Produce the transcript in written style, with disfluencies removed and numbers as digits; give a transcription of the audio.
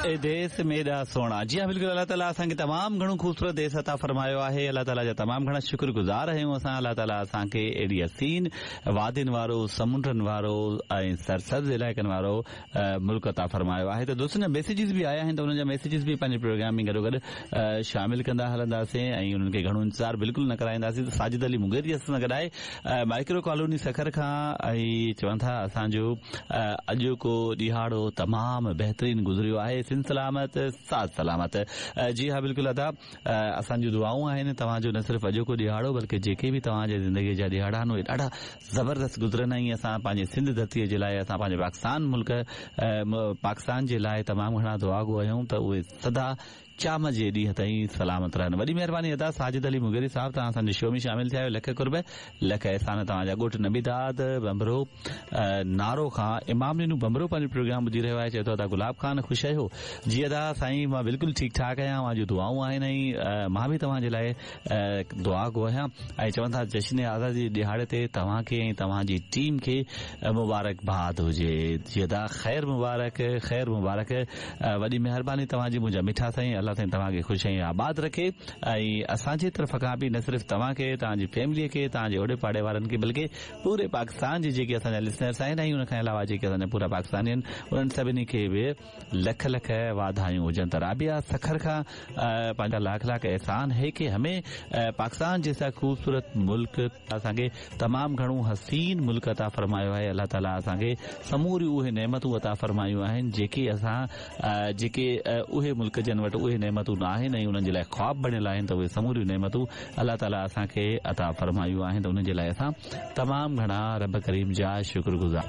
اي ديس ميڏا سهڻا. جي ها بلڪل الله تعالي اسان کي تمام گهڻو خوبصورت ديس عطا فرمايو آهي الله تعالي جا تمام گهڻا شڪر گذار آهيون اسان الله تعالي اسان کي اهڙي حسين وادين وارو سمنڊن وارو ۽ سرسبز علائقن وارو ملڪ عطا فرمايو آهي ته دوستن جا ميسيجز به آيا آهن ته انهن جا ميسيجز به پنهنجي پروگرام ۾ گڏوگڏ شامل ڪندا هلنداسين ۽ انهن کي گهڻو انتظار بلڪل نه ڪرائينداسين ته ساجد علي مغيري اسان سان گڏ آهي مائڪرو ڪالوني سکر کان ۽ چون ٿا اسان جو اڄوڪو ڏهاڙو تمام بهترين گذريو آهي سنڌ سلامت ساٿ سلامت جي ها بلڪل ادا اسان جون دعائون آهن توهان جو نه صرف اڄوڪو ڏهاڙو بلڪه جيڪي به توهان جي زندگي جا ڏهاڙا آهن اهي ڏاڍا زبردست گذرن ۽ اسان پنهنجي سنڌ ڌرتي جي لاء اسان پنهنجي پاڪستان ملڪ پاڪستان جي لاء تمام گهڻا دعاگو آهيون ته اهي سدا قيامت جي ڏينهن تائين سلامت رهن. وڏي مهرباني ادا ساجد علي مغيري صاحب توهان اسان جي شو ۾ شامل ٿيا آهيو لک قرب لک احسان توهان جا ڳوٺ نبي داد ڀنڀرو نارو کان امام ڏنو ڀنڀرو پنهنجو پروگرام ٻڌي رهيو آهي چئي ٿو ادا گلاب خان خوش آهيو جي ادا سائين مان بلڪل ٺيڪ ٺاڪ آهيان اوهان جون دعائون آهن ۽ مان به توهان جي لاء دعا گو آهيان ۽ چون ٿا جشن آزادي جي ڏهاڙي تي توهان کي ۽ توهان جي ٽيم کي مبارڪ باد هجي جي ادا خير مبارڪ خير مبارڪ وڏي مهرباني توهان جي منهنجا مٺا سائين الله سائين توهان کي خوش ۽ آباد رکي ۽ اسان جي طرف کان به نه صرف توهان کي توهان جي فيملي کي توهان جي اوڙي پاڙي وارن کي بلڪه پوري پاڪستان جي جيڪي اسان جا لسنرس آهن ۽ ان کان علاوه جيڪي اسان جا پورا پاڪستاني آهن انهن سڀني کي به لک لک واڌايون هجن ته رابعه سکر کان پنهنجا لاک لاک احسان هي ڪي همي پاڪستان جيسا خوبصورت ملڪ اسان کي تمام گهڻو حسين ملڪ عطا فرمايو آهي الله تعالي اسان کي سموريون اهي نعمتون عطا فرمايون آهن جيڪي اسان جيڪي اهي ملڪ جن وٽ اهي نعمتون نه آهن ۽ انهن جي لاء خواب بڻيل آهن ته اهي سموريون نعمتون الله تعالي اسان کي عطا فرمايون آهن ته انهن جي لاء اسان تمام گهڻا رب ڪريم جا شڪر گذار.